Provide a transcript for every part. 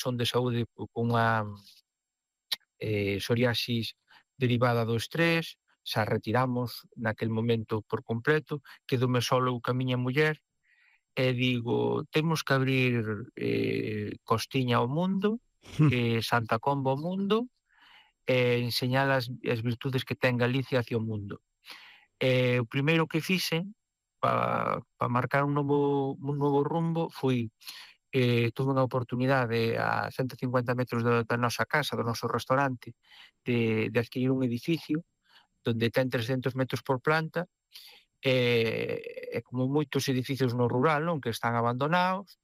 son de saúde cunha psoriasis derivada do estrés, xa retiramos naquel momento por completo, quedoume solo eu ca miña muller, e digo, temos que abrir Costiña ao mundo, Santa Comba ao mundo, e enseñar as virtudes que ten Galicia hacia o mundo. O primeiro que fixen para marcar un novo rumbo foi tuve unha oportunidade a 150 metros da nosa casa, do noso restaurante, de adquirir un edificio donde ten 300 metros por planta, e como moitos edificios no rural, non, que están abandonados,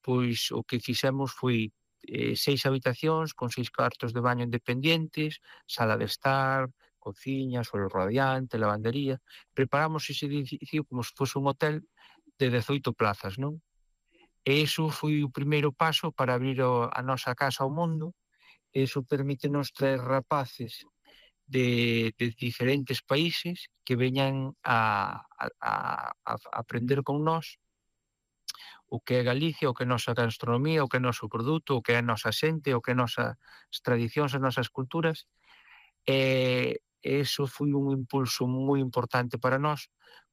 pois o que fixemos foi 6 habitacións con 6 cuartos de baño independientes, sala de estar, cociña, suelo radiante, lavandería. Preparamos ese edificio como se fose un hotel de 18 plazas, non? E iso foi o primeiro paso para abrir a nosa casa ao mundo. Iso permítenos traer rapaces de diferentes países que veñan a aprender con nós o que é Galicia, o que é a nosa gastronomía, o que é o noso produto, o que é a nosa xente, o que é as nosas tradicións, as nosas culturas. E iso foi un impulso moi importante para nós,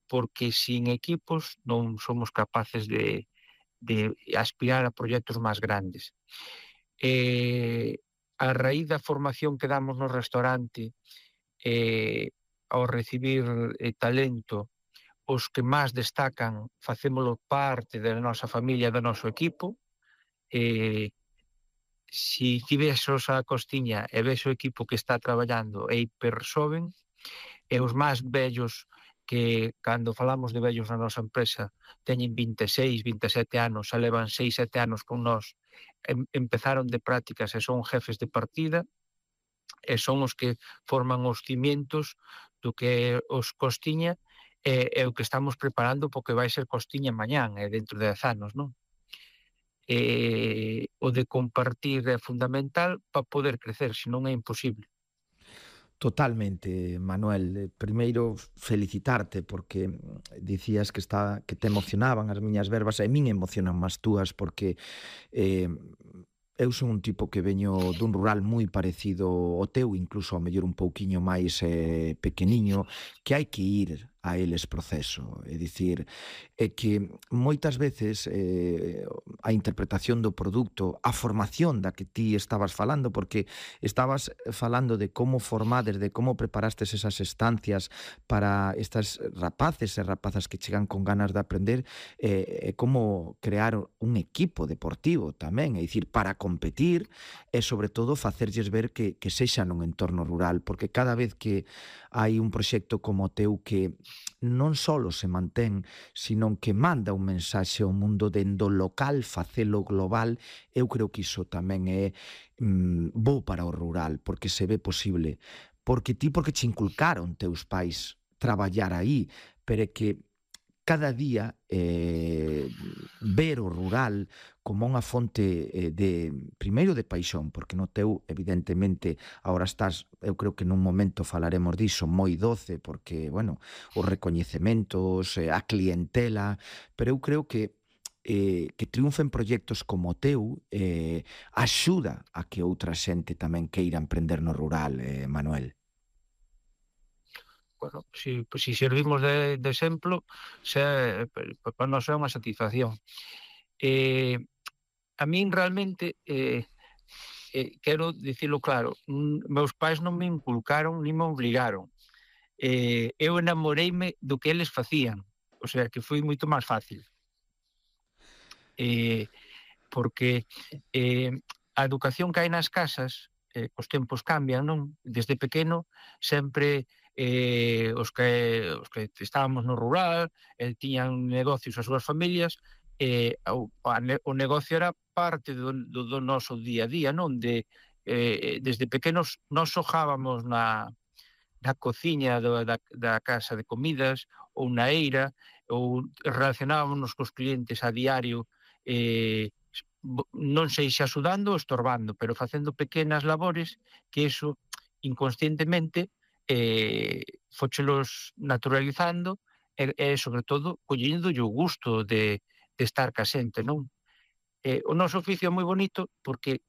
porque sin equipos non somos capaces de aspirar a proxectos máis grandes. A raíz da formación que damos no restaurante, ao recibir talento, os que máis destacan facémolo parte da nosa familia, do noso equipo. Si ti ves a Costiña e ves o equipo que está traballando é hiper xoven, e os máis vellos, que cando falamos de vellos na nosa empresa teñen 26, 27 anos, xa levan 6, 7 anos con nós, empezaron de prácticas e son jefes de partida, e son os que forman os cimientos do que os Costiña, e o que estamos preparando porque vai ser Costiña mañán e dentro de 10 anos, non? O de compartir é fundamental para poder crecer, senón é imposible. Totalmente, Manuel. Primeiro, felicitarte porque dicías que te emocionaban as miñas verbas, e min emocionan máis túas porque eu son un tipo que veño dun rural moi parecido ao teu, incluso ao mellor un pouquiño máis pequeniño, que hai que ir a eles proceso. É dicir, é que moitas veces a interpretación do produto, a formación da que ti estabas falando, porque estabas falando de como formades, de como preparastes esas estancias para estas rapaces e rapazas que chegan con ganas de aprender, e como crear un equipo deportivo tamén, é dicir, para competir e, sobre todo, facerlles ver que sexa nun entorno rural, porque cada vez que hai un proxecto como o teu que non só se mantén, sino que manda un mensaxe ao mundo dende o local, facelo global, eu creo que iso tamén é bo para o rural, porque se ve posible. Porque che inculcaron teus pais traballar aí, pero é que cada día ver o rural como unha fonte primeiro de paixón, porque no teu, evidentemente, agora estás, eu creo que nun momento falaremos diso, moi doce, porque, bueno, os recoñecementos, a clientela, pero eu creo que triunfen proxectos como o teu axuda a que outra xente tamén queira emprender no rural, Manuel. Bueno, si servimos de exemplo, para nós é unha satisfacción. A min realmente, quero dicilo claro, meus pais non me inculcaron ni me obligaron. Eu enamoreime do que eles facían, o sea, que foi moito máis fácil. Porque a educación que hai nas casas, os tempos cambian, non? Desde pequeno sempre os que estábamos no rural tiñan negocios as súas familias, o negocio era parte do noso día a día, non? Desde pequenos nós xogábamos na cociña da casa de comidas ou na eira, ou relacionábamos cos clientes a diario, non sei se axudando ou estorbando, pero facendo pequenas labores que iso inconscientemente fóchelos naturalizando e sobre todo collendo o gusto de estar ca xente, non? O noso oficio é moi bonito porque